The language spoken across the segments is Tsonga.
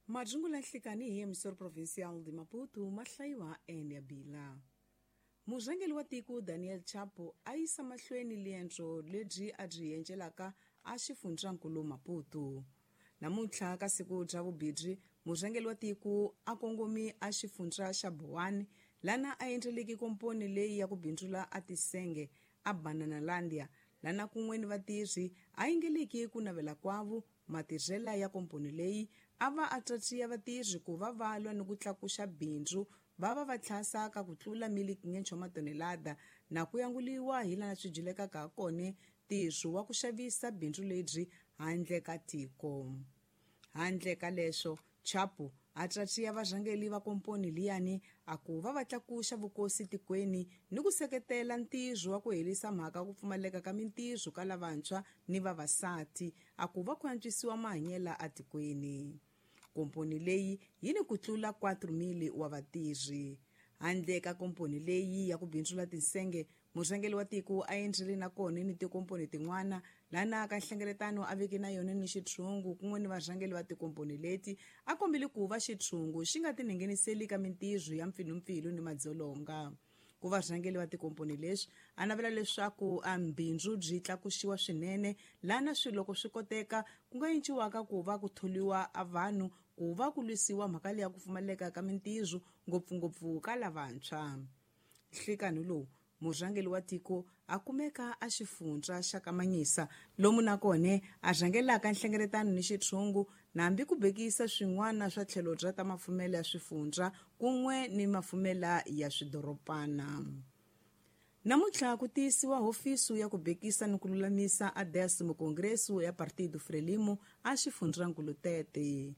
Majungula nhlikani hi emissor provincial de Maputo ma hlayiwa eNyabila. Murhangeri wa tiko Daniel Chapo a yisa mahlweni liendzo lebyi a byi endlelaka a xifundzankulu Maputo. Namuntlha ka siku bya vubirhi, murhangeri wa tiko a kongomi a xifundza xa Boane lana a endleleke komponi leyi ya ku bindzula a tisenge a Bananalandia lana kun'we ni vatirhi a yingeleki ku navela kwavo matirhela ya komponi leyi a va a tatiya vatirhi ku va va lwa ni ku tlakuxa bindzu va va va tlhasa ka ku tlula 1,500 wa matonelada na ku yanguliwa hi lana swi dyilekaka ha kone ntirho wa ku xavisa bindzu lebyi handle ka tiko. Handle ka leswo, Chapo a tatiya varhangeri va komponi liyani a ku va va tlakuxa vukosi tikweni ni ku seketela ntirho wa ku herisa mhaka ku pfumaleka ka mintirho ka lavantshwa ni vavasati a ku va ku antswisiwa mahanyelo atikweni. Komponi leyi yi ni ku tlula 4,000 wa vatirhi. Handle ka komponi leyi ya ku bindzula tinsenge, murhangeri wa tiko a endlile na kona ni tikomponi tin'wana lana ka nhlengeletano a veke na yona ni xitshungu kun'we ni varhangeri va tikomponi leti a kombile ku va xitshungu xi nga tingheniseli ka mintirho ya mpfilumpfilu ni madzolonga. Ku varhangeri va tikomponi leswi a navela leswaku a mbindzu byi tlakuxiwa swinene lana swi loko swi koteka ku nga enciwaka ku va ku tholiwa a vanhu ku va ku lwisiwa mhaka leya ku pfumaleka ka mintirho ngopfungopfu ka lavantshwa. Nhlikani lowu murhangeri wa tiko a kumeka a xifundza xa Kamanyisa lomu na kone a rhangelaka nhlengeletano ni xitshungu nambi ku bekisa swin'wana swa tlhelo bya ta mafumelo ya swifundza kun'we ni mafumela ya swidoropana. Namuntlha ku tiyisiwa hofisi ya ku bekisa ni ku lulamisa a décimo congresso ya Partido Frelimo a xifundzankulu Tete.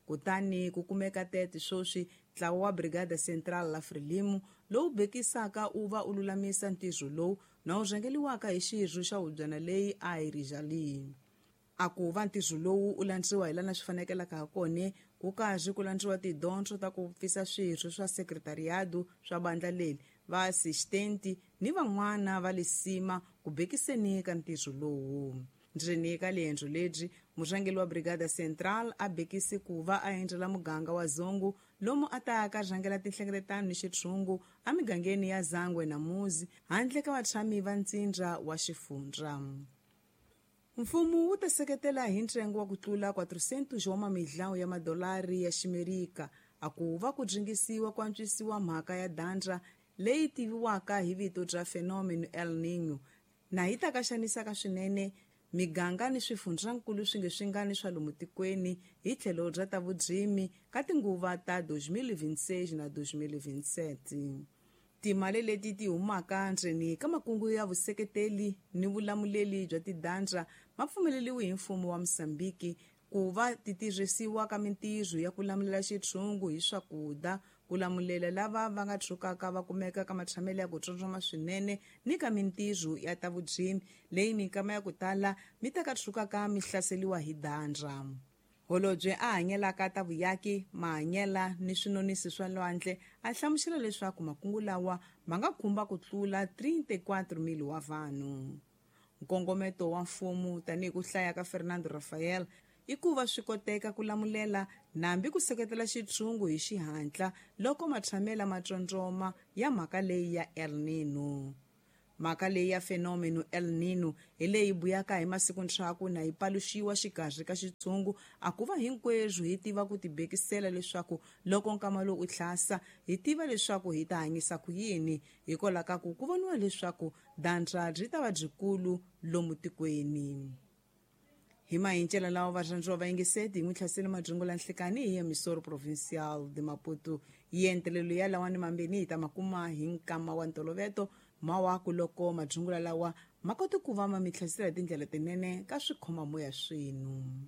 Kutani ku kumeka Tete sweswi ntlawa wa Brigada Central la Frelimo lowu bekisaka u va u lulamisa ntirho lowu na wu rhangeliwaka hi xirho xa hubyana leyi a yi rijali. A ku va ntirho lowu u landziwa hi lana swi fanekelaka ha kone ku karhi ku landziwa tidyondzo ta ku pfisa swirho swa sekretariado swa bandla leri va assistenti ni van'wana va lisima ku bekiseni ka ntirho lowu. Ndzeni ka liendzo lebyi murhangeri wa Brigada Central a bekisi ku va a endzela muganga wa Zongo lomu a ta ka rhangela tinhlengeletano ni xitshungu emigangeni ya Zangwe na Muzi handle ka vatshami va ntsindza wa xifundza. Mfumo wu ta seketela hi ntsengo wa ku tlula 400 wa mamidlawu ya madolari ya Ximerika a ku va ku dringisiwa ku antswisiwa mhaka ya dandra leyi tiviwaka hi vito bya fenomeno El Niño na yi ta ka xanisaka swinene miganga ni swifundzankulu swi nge swi nga ni swa lomu tikweni hi tlhelo bya ta vudzimi ka tinguva ta 2026 na 2027. Timali leti ti humaka ndzeni ka makungu ya vuseketeli ni vulamuleli bya tidandra ma pfumeleliwe hi mfumo wa Mozambique ku va ti tirhisiwa ka mintirho ya ku lamulela xitshungu hi swakudya, ku lamulela lava va nga tshukaka va kumeka ka matshamelo ya ku tsondzoma swinene ni ka mintirho ya ta vudzimi leyi minkama ya ku tala mi ta ka tshukaka mi hlaseliwa hi dandra. Holobye a hanyelaka ta vuyaki, mahanyela ni swinonisi swa lwandle a hlamusela leswaku makungu lawa ma nga khumba ku tlula 34,000 wa vanhu. Nkongometo wa mfumo tanihi ku hlaya ka Fernando Rafael i ku va swi koteka ku lamulela nambi ku seketela xitshungu hi xihatla loko matshamela ma tsondzoma ya mhaka leyi ya El Niño. Mhaka leyi ya fenomeno El Niño hi leyi buyaka hi masiku ntshaku na yi paluxiwa xikarhi ka xitshungu a ku va hinkwerhu hi tiva ku tibekisela leswaku loko nkama lowu u tlhasa hi tiva leswaku hi ta hanyisa ku yini hikwalaho ka ku ku voniwa leswaku dandra byi ta va byikulu lomu tikweni. Hi mahincela lawa varhandziwa va yingiseti hi n'wi hlasele majungu la nhlikani hi emisoro provincial de Maputo. Yentelelo ya lawani mambeni hi ta makuma hi nkama wa ntoloveto mawaku loko majungula lawa ma kota ku va ma mi hlasela hi tindlela tinene ka swikhomamoya swenu.